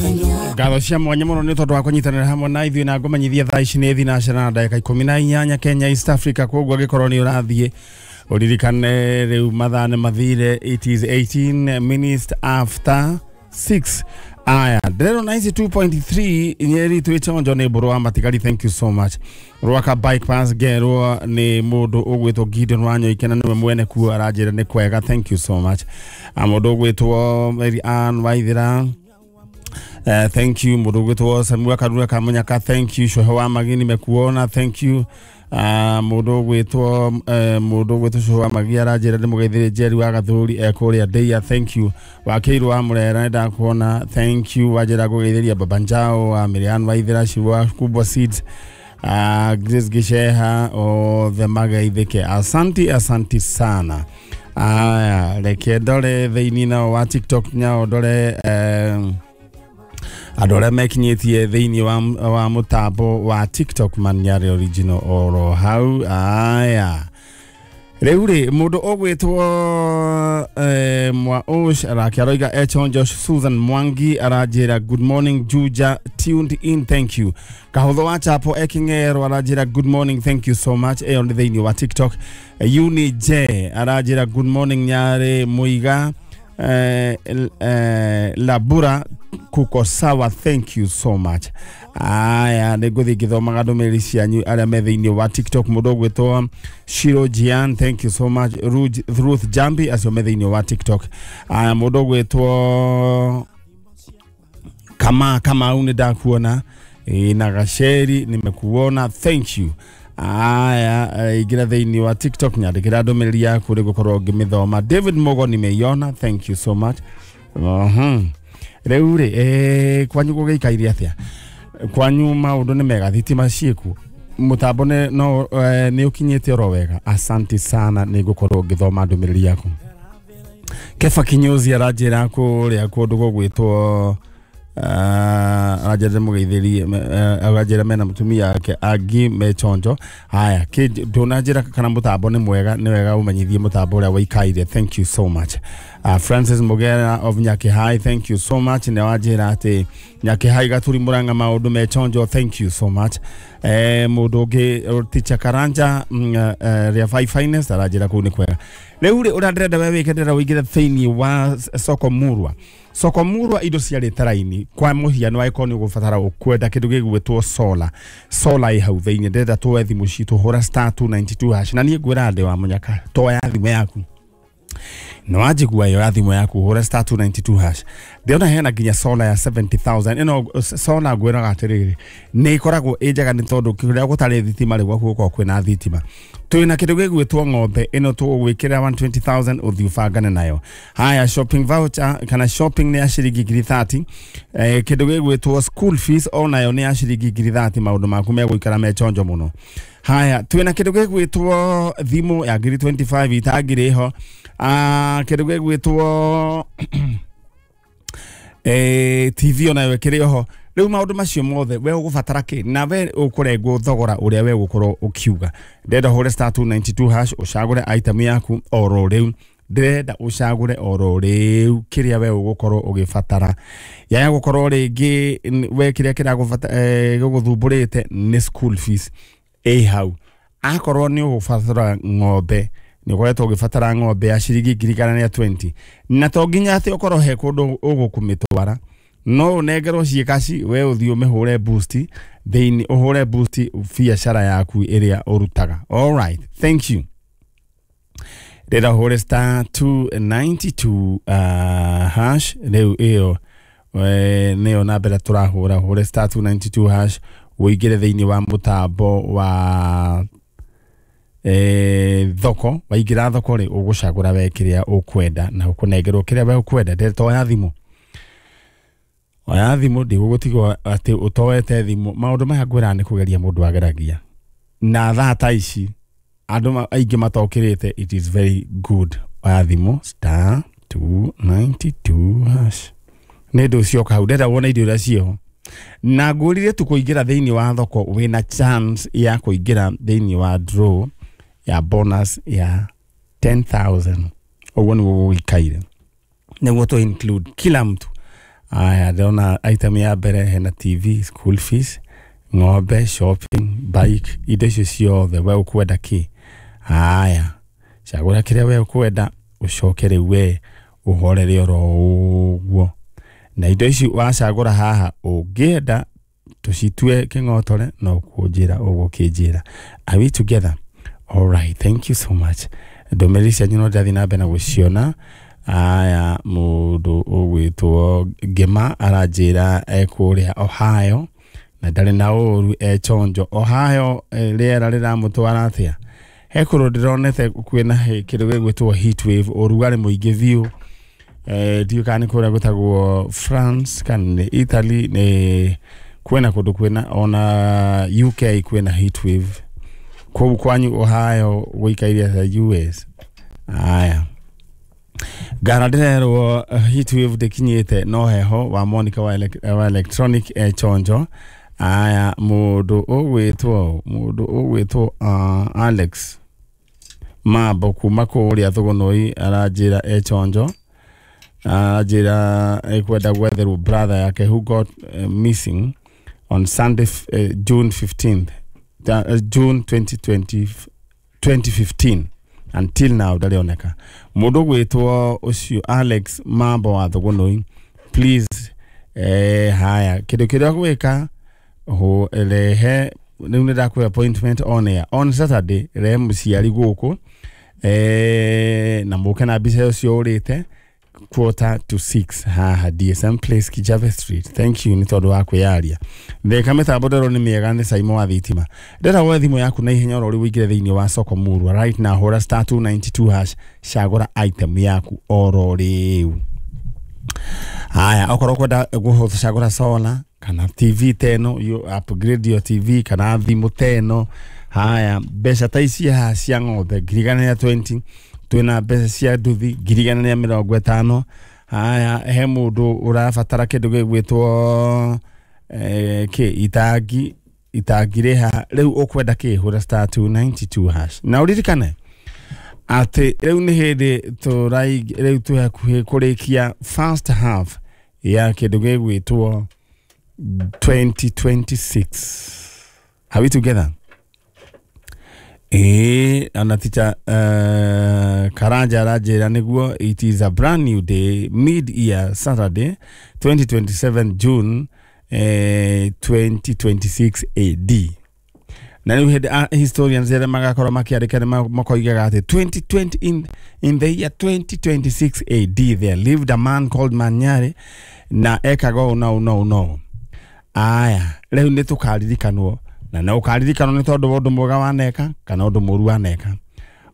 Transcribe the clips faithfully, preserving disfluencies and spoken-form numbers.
Ngatho cia mwanya muno nĩ tondũ wa kũnyitanĩra hamwe na ithuĩ, na ngũmenyithia thaa ici nĩ thinacara na ndagĩka ikũmi na inyanya Kenya, East Africa. Koguo angĩkorwo nĩ ũrathiĩ, ũririkane rĩu mathaa nĩ mathire, it is eighteen minutes after six. Aya, ndĩrerwo ninety-two point three Nyeri twĩ chonjo nĩ mbũrũ wa matigari. Thank you so much. Rwaka bypass ngerwo nĩ mũndũ ũgwĩtwo Gideon Wanyoike, na nĩwe mwene kuo, aranjĩra nĩ kwega. Thank you so much. Ah, mũndũ ũgwĩtwo Mary Ann Waithira, Uh, thank you. Mũndũ ũgwĩtwo Samuel Karura Kamunyaka, thank you. Cohe wa Magi, nimekuona, thank you. uh, mũndũ ũgwĩtwo uh, mũndũ ũgwĩtwo Cohe wa Magi aranjĩra ndĩmũgeithĩrie Jerry wa Gathũri e kũrĩa Ndeia, thank you. Wakĩirwo wa Mũrera, nĩndakuona, thank you. Wanjĩra ngũgeithĩria Baba Njao wa Miriam Waithira Ciwa Kubwa Seeds, uh, Grace Gicheha, othe mageithĩke. Asanti, asanti sana. Aya, reke ndore thĩinĩ nao wa TikTok, nyao ndore eh, andũ arĩa mekinyĩtie thĩinĩ wa, wa mũtambo wa TikTok Maniare Original oro hau. Aya, rĩu rĩ, mũndũ ũgwĩtwo eh, mwa Osh arake aroiga echonjo. Susan Mwangi aranjĩra, "Good morning Juja, tuned in." Thank you. Kahũthũ wa Chapo eking'ero aranjĩra, "Good morning." Thank you so much. Ĩyo nĩ thĩinĩ wa TikTok. Uni J aranjĩra, "Good morning Nyarĩ Mũiga, eh, eh, Labura kuko sawa." Thank you so much. Aya, nĩ ngũthiĩ ngĩthomaga ndũmĩrĩri cianyu arĩa me thĩinĩ wa TikTok. Mũndũ ũgwĩtwo Shiro Jian, thank you so much. Ruth, Ruth Jambi, acio me thĩinĩ wa TikTok. Aya, mũndũ ũgwĩtwo Kama Kamau, nĩ ndakuona. Ĩ, na Gaceri, nimekuona, thank you. Aya, eh, ingĩra thĩinĩ wa TikTok, nyandĩkĩra ndũmĩrĩri yaku rĩ gũkorwo ngĩmĩthoma. David Mogo, nimeiona, thank you so much. uh-huh. Rĩu rĩ, eh, kwanyu gũgĩikaire atĩa? Kwanyu maũndũ nĩ mega? Thitima ciĩkuo? Mũtambo nĩ no eh, nĩ ũkinyĩte oro wega? Asante sana, nĩ ngũkorwo ngĩthoma ndũmĩrĩri yaku. Kefa Kinyozi aranjĩra kũrĩa kũndũ gũgwĩtwo uh, aranjĩra mũgeithĩrie, uh, aranjĩra mena mũtumia wake angi me chonjo. Haya, ndũnanjĩra kana mũtambo nĩ mwega. Nĩ wega ũmenyithie mũtambo ũrĩa wĩikaire. Thank you so much. uh, Francis Mugera of Nyakihai, thank you so much. Nĩ wanjĩra atĩ Nyakihai Gaturi Murang'a maũndũ me chonjo. Thank you so much. eh, mũndũ ũngĩ, Teacher Karanja mm, uh, rĩa Five Finest, aranjĩra kũu nĩ kwega. Rĩu rĩ, ũrĩa ndĩrenda we wĩke, ndĩrenda ũingĩre thĩinĩ wa soko murwa. Soko murwa indo ciarĩte raini. Kwa mũhiano, angĩkorwo nĩ ũgũbatara ũkwenda kĩndũ gĩgwĩtwo solar, solar ĩ hau thĩinĩ. Ndĩrenda tuoe thimũ citũ, hũra star two nine two hash, na niĩ ngwĩra ndĩ wa mũnyaka, toya thimũ yaku. Nĩ wanjigua? Ĩyo ya thimũ yaku, hũra star two nine two hash. Ndĩrona hena nginya solar ya seventy thousand. Ĩno solar ngwĩraga atĩrĩrĩ, nĩ ĩkoragwo ĩ njega nĩ tondũ kũrĩa gũtarĩ thitima rĩ, gwaku gũkoragwo kwĩna thitima. Twĩna kĩndũ gĩgwĩtwo ng'ombe, ĩno tũgũgwĩkĩra one hundred twenty thousand, ũthiĩ ũbangane nayo. Haya, shopping voucher kana shopping nĩ ya ciringi ngiri thirty. eh, kĩndũ gĩgwĩtwo school fees onayo nĩ ya ciringi ngiri thirty. Maũndũ maku megũikara me chonjo mũno. Haya, twĩna kĩndũ gĩgwĩtwo thimũ ya ngiri mĩrongo ĩrĩ na ithano itangĩrĩ ho. Ah, kĩndũ gĩgwĩtwo eh, T V onayo ĩkĩrĩ oho. Rĩu maũndũ macio mothe, we ũgũbatara kĩ na we ũkũrengwo thogora ũrĩa we ũgũkorwo ũkiuga. Ndĩrenda ũhũre star two nine two hash, ũcagũre item yaku oro rĩu. Ndĩrenda ũcagũre oro rĩu kĩrĩa we ũgũkorwo ũgĩbatara. Yaya gũkorwo rĩngĩ n- we kĩrĩa kĩragũbata eh, gĩgũthumbũrĩte nĩ school fees, ĩ hau. Akorwo nĩ ũgũbatara ng'ombe, nĩ ũkoretwo ũgĩbatara ng'ombe ya ciringi ngiri igana rĩa mĩrongo ĩrĩ, na to nginya atĩ ũkorwo he kũndũ ũgũkũmĩtwara, no ũnengerwo ciĩ kaci, we ũthiĩ ũmĩhũre boost thĩinĩ, ũhũre boost biacara yaku ĩrĩa ũrutaga. Alright, thank you. Ndĩrenda ũhũre star two nine two uh, hash rĩu. Ĩyo eh, nĩyo namba ĩrĩa tũrahũra. Ũhũre star two nine two hash, ũingĩre thĩinĩ wa mũtambo wa eh, thoko. Waingĩra thoko rĩ, ũgũcagũra we kĩrĩa ũkwenda na ũkũnengerwo kĩrĩa we ũkwenda. Ndĩrenda oya thimũ, oya thimũ, ndigũgũtigwo atĩ ũtoete thimũ. Maũndũ maya ngwĩraga nĩ kũgeria mũndũ ageragia, na thaa ta ici andũ ma- aingĩ matokĩrĩte. It is very good. Oya thimũ, star two nine two hash. Nĩ ndũ cioka hau, ndĩrenda wone indo iria ciĩho, na ngũrire tu kũingĩra thĩinĩ wa thoko, wĩna chance ya kũingĩra thĩinĩ wa draw ya bonus ya ten thousand. Ũguo nĩguo gũgĩikaire, nĩguo tũ include kila mtu. Aya, ndĩrona item ya mbere hena T V, school fees, ng'ombe, shopping, bike, indo icio ciothe we ũkwenda kĩ? Aya, cagũra kĩrĩa we ũkwenda, ũcoke rĩu we ũhorere oro ũguo. Na indo ici wacagũra haha ũngĩenda tũcitue kĩng'otore no kũnjĩra ũgũkĩnjĩra. Are we together? All right, thank you so much. Ndũmĩrĩri cianyu no ndĩrathiĩ na mbere na gũciona. Aya, mũndũ ũgwĩtwo Ngĩma aranjĩra ekũrĩa Ohio na ndarĩ na ũru, e chonjo. Ohio rĩera rĩramũtwara atĩa? He kũndũ ndĩronete kwĩna kĩndũ gĩgwĩtwo heat wave, ũrugarĩ mũingĩ biũ. Eh, ndiũĩ kana nĩ kũrĩa gwĩtagwo France kana nĩ Italy, nĩ kwĩna kũndũ kwĩna ona U K kwĩna heat wave. Kũu kwanyu Ohio gũikaire atĩa U S? Aya, Ngara ndĩrerwo heat wave ndĩkinyĩte no heho wa Monica wa, ele wa electronic e chonjo. Aya, mũndũ ũgwĩtwo mũndũ ũgwĩtwo uh, Alex Mambo kuma kũrĩa Thũgũnũi aranjĩra e chonjo. Aranjĩra ekwenda gwetherwo brother yake who got uh, missing on Sunday uh, June fifteenth, uh, June twenty twenty, twenty fifteen until now ndarioneka. Mũndũ ũgwĩtwo ũcio Alex Mambo wa Thũgũnũi, please, eh, haya kĩndũ kĩrĩa gwĩka ho rehe rĩu nĩ ndakũhe appointment on air on Saturday, rehe mũciari gũkũ eh, na mũke na mbica ũcio ũrĩte quarter to six haha D S M Place, Kijabe Street. Thank you nĩ tondũ wa kwĩyaria. Theka mĩtambo ndĩrona nĩ mĩega nĩ Saimo wa thitima. Ndĩrenda woe thimũ yaku na ihenya oro rĩu ũingĩre thĩinĩ wa soko murwa right now, hũra star two ninety two hash, cagũra item yaku oro rĩu. Haya, okorwo ũkwenda gũcagũra solar kana T V teno, you upgrade your T V kana thimũ teno. Haya, mbeca ta ici haha cia ng'ombe ngiri igana rĩa twenty, twĩna mbeca cia nduthi ngiri igana rĩa mĩrongo ĩtano. Haya, he mũndũ ũrabatara kĩndũ gĩgwĩtwo eh, kĩ itangi, itangi rĩ haha. Rĩu ũkwenda kĩ? Hũra star two ninety two hash. Na ũririkane atĩ rĩu nĩ hĩndĩ tũrai rĩu twĩ hakuhĩ kũrĩkia first half ya kĩndũ gĩgwĩtwo twenty twenty six. Are we together? Eh, ana teacher uh, Karanja aranjĩra nĩguo it is a brand new day, mid year Saturday twenty twenty seven June eh, twenty twenty six A D. Na rĩu hĩndĩ historians arĩa magakorwo makĩandĩka nĩ makoigaga atĩ twenty twenty in, in the year twenty twenty six A D there lived a man called Manyare na ekaga ũũ na ũũ na ũũ na ũũ. Aya, rĩu nĩ tũkaririkanwo na no ũkaririkanwo nĩ tondũ wa ũndũ mwega waneka kana ũndũ mũru waneka.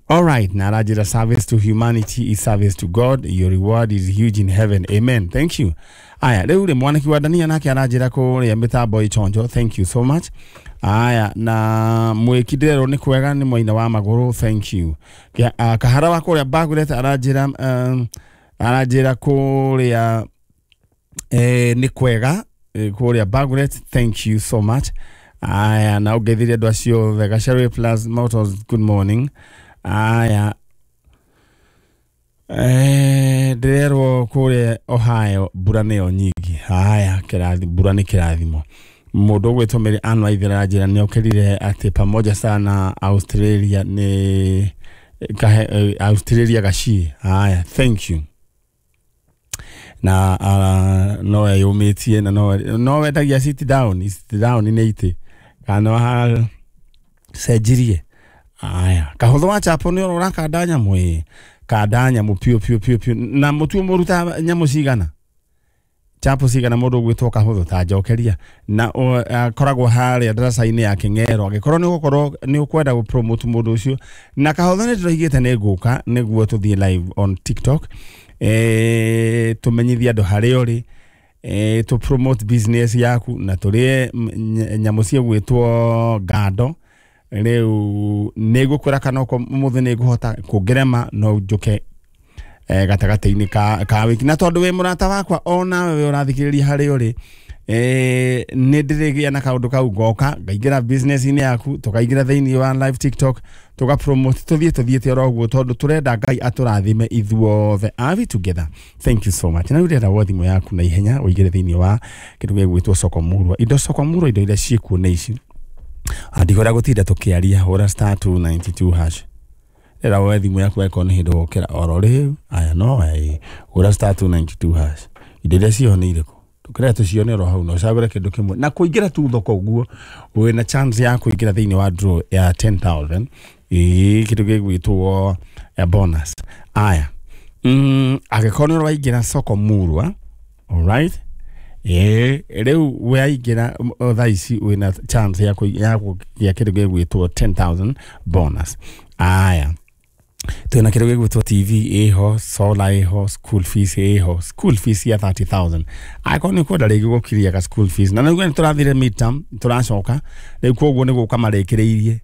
All right, na aranjĩra service to humanity is service to God, your reward is huge in heaven. Amen. Thank you. Aya, rĩu rĩ mwaniki wa Dania nake aranjĩra kũrĩa mĩtambo ĩchonjo. Thank you so much. Aya, na mwĩki ndĩrerwo nĩ kwega nĩ mwaina wa magũrũ. Thank you. Kia, uh, kahara wa kũrĩa Bagurete aranjĩra um, aranjĩra kũrĩa eh, nĩ kwega eh, kũrĩa Bagurete. Thank you so much. Aya, na ũngeithirie andũ acio othe. Gacharwe Plus Motors, good morning. Aya, eh, ndĩrerwo kũrĩa Ohio mbura nĩyo nyingĩ. Aya, kĩrathi mbura nĩ kĩrathimo. Mũndũ ũgwĩtwo Mary Ann Waithera aranjĩra nĩ okĩrire atĩ pamoja sana Australia nĩ kahe, Australia gaciĩ. Aya, thank you. Na uh, no eyũmĩtie na no no wendagia sit down, sit down nĩ itĩ kana ha cenjirie. Aya, kahũthũ wa chapo nĩ ũrora kanda nyamũ ĩ kanda nyamũ piũ piũ piũ piũ. Na mũtu mũruta nyamũ cigana chapo cigana mũndũ ũgwĩtwo kahũthũ ta njokeria na akoragwo harĩa ndaraca-inĩ ya Kĩng'ero. Angĩkorwo nĩ ũgũkorwo nĩ ũkwenda gũ promote mũndũ ũcio na kahũthũ nĩ ndĩroigĩte nĩ ngũka nĩguo tũthiĩ live on TikTok eh, tũmenyithie andũ harĩa ũrĩ, eh, tũ promote business yaku na tũrĩe nyamũ ciĩgwĩtwo ngando. Rĩu nĩ ngũkwĩra kana okorwo ũmũthĩ nĩ ngũhota kũngerema no njũke eh, gatagatĩ-inĩ ka, ka wiki. Na tondũ wĩ mũrata wakwa onawe we ũrathikĩrĩria harĩa ũrĩ, eh, nĩ ndĩrĩgĩa na kaũndũ kau ngoka ngaingĩra business-inĩ yaku, tũkaingĩra thĩinĩ wa live TikTok, tũga promote, tũthiĩ tũthiĩte oro ũguo, tondũ tũrenda Ngai atũrathime ithuothe. Are we together? Thank you so much. Na rĩu ndĩrenda woe thimũ yaku na ihenya ũingĩre thĩinĩ wa kĩndũ gĩgwĩtwo soko murwa. Indo soko murwa, indo iria ciĩkuo nĩ ici. Andigora gũtinda tũkĩaria, hũra star two ninety two hash. Ndĩrenda woe thimũ yaku angĩkorwo nĩ hĩndĩ wokĩra oro rĩu. Aya, no ĩ hũra star two ninety two hash. Indo iria ciĩho nĩ irĩkũ? Tũkĩrĩa tũcione oro hau na ũcagũre kĩndũ kĩmwe. Na kũingĩra tu thoko ũguo wĩna chance ya kũingĩra thĩinĩ wa draw ya ten thousand, ĩĩ, kĩndũ gĩgwĩtwo eh, bonus. Aya, mm, angĩkorwo nĩ ũraingĩra soko murwa, alright, ĩĩ, rĩu waingĩra thaa ici wĩna chance ya kũi- ya kũgĩa kĩndũ gĩgwĩtwo ten thousand bonus. Aya, twĩna kĩndũ gĩgwĩtwo T V ĩho, solar ĩho, school fees ĩho, school fees ya thirty thousand. Angĩkorwo nĩ ũkwenda rĩngĩ gũkiria ga school fees, na nĩguo nĩ tũrathire midterm, tũracoka rĩu, koguo nĩ gũka marĩkĩrĩirie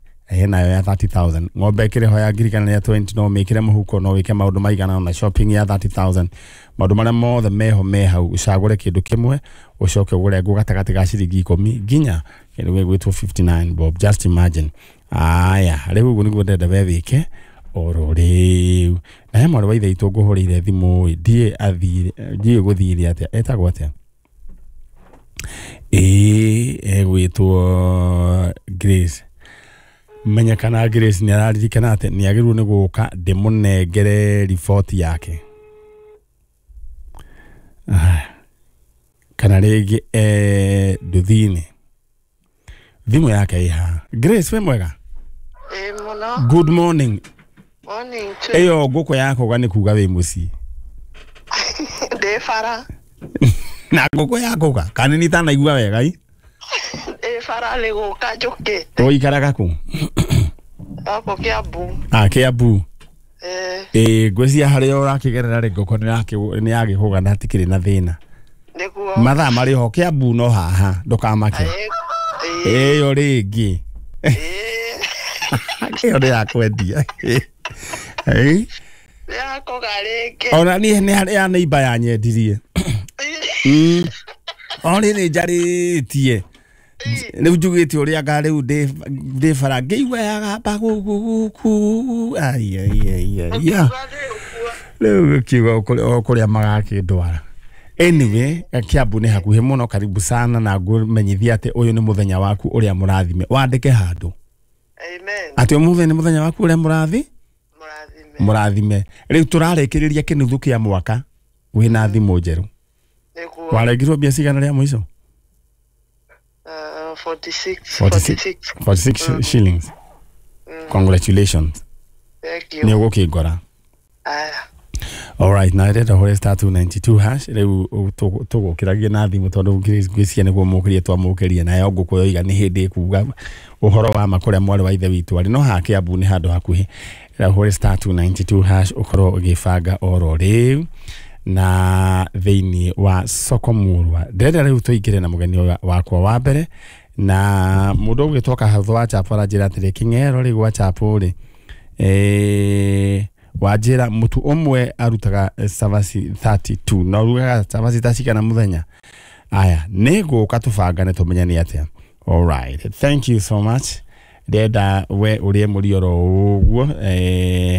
nayo ya thirty thousand. Ng'ombe ĩkĩrĩ ho ya ngiri kana ya twenty, no mĩkĩre mũhuko, no wĩke maũndũ maigana na shopping ya thirty thousand. Maũndũ marĩa mothe meho me hau, ũcagũre kĩndũ kĩmwe ũcoke ũgũre ngũ gatagatĩ ga ciringi ikũmi nginya kĩndũ gĩgwĩtwo fifty nine bob. Just imagine. Aya, rĩu ũguo nĩguo ndĩrenda we wĩke oro rĩu. Na he mwarĩ wa ithe witũ ngũhũrĩire thimũ ĩ, ndiĩ athire, ndiĩ gũthire atĩa, etagwo atĩa? Ĩĩ, egwĩtwo Grace. Menya kana Grace nĩ araririkana atĩ nĩ agĩrĩirwo nĩ gũka ndĩmũnengere riboti yake. Aya, kana rĩngĩ eh, nduthi-inĩ. Thimũ yake ĩ haha. Grace, wĩ mwega? Ĩ mũno. Good morning. Morning too. Ĩyo ngũkũ yakũga nĩ kuga wĩ mũciĩ. Ndĩ bara. Na ngũkũ yakũga kana nĩ itanaigua wega i? Ndĩ bara nĩ gũka njũkĩte. Ũikaraga kũ? Gũkũ Kiambu. Ah, Kiambu. Eh. Ĩ, ngwĩciria harĩa ũrakĩgerera rĩ, ngũkũ nĩ yagĩkũga na hatikĩrĩ na thĩna. Nĩguo. Mathaa marĩ ho Kiambu no haha, ndũkamake. Ĩ. Ĩyo rĩngĩ. Ĩ. Ĩyo nĩ ya kwendia. Ĩ. Yakũga rĩngĩ. Ona niĩ nĩ harĩ ya neighbor yanyendirie. Mm. O rĩrĩ njarĩtie. Rĩu njugĩte ũrĩa anga rĩu ndĩ bara ngĩigua yagamba gũkũ gũkũ. Ai, ai, ai, ai, ya. Rĩu gũkiuga o kũrĩa magakĩndwara. Anyway, Kiambu nĩ hakuhĩ mũno, karibu sana, na ngũmenyithia atĩ ũyũ nĩ mũthenya waku ũrĩa mũrathime. Wandĩke handũ. Amen. Atĩ ũmũthĩ nĩ mũthenya waku ũrĩa mũrathi? Mũrathime. Mũrathime. Rĩu tũrarĩkĩrĩria kĩnuthu kĩa mwaka wĩna thimũ njerũ. Nĩguo. Warengirwo mbia cigana rĩa mũico? Uh, forty-six. forty-six. forty-six Mm. shillings. Mm. Congratulations. Thank you. Nĩ ũgũkĩngora. Aya. All right, na ndĩrenda hũre star two ninety two hash. Rĩu tũgũkĩragia na thimũ tondũ ngwĩciria nĩguo mũkĩrie twamũkĩria, nayo ngũkũ yoiga nĩ hĩndĩ ĩkuga ũhoro wa ma kũrĩa mwarĩ wa ithe witũ arĩ. No haha Kiambu nĩ handũ hakuhĩ. Rĩu hũre star two ninety two hash ũkorwo ũgĩbanga oro rĩu na thĩinĩ wa soko murwa. Ndĩrenda rĩu tũingĩre na mũgeni wakwa wa mbere, na mũndũ ũgwĩtwo Kahatho wa Chapo aranjĩra atĩrĩ, Kĩng'ero rĩ gwa Chapo rĩ, eh, wanjĩra mũtu ũmwe arutaga cabaci thirty two na ũrugaga cabaci ta cigana mũthenya? Aya, nĩ ngũka tũbangane tũmenye nĩ atĩa. All right, thank you so much. Ndĩrenda we ũrĩe mũrioro ũguo, eh,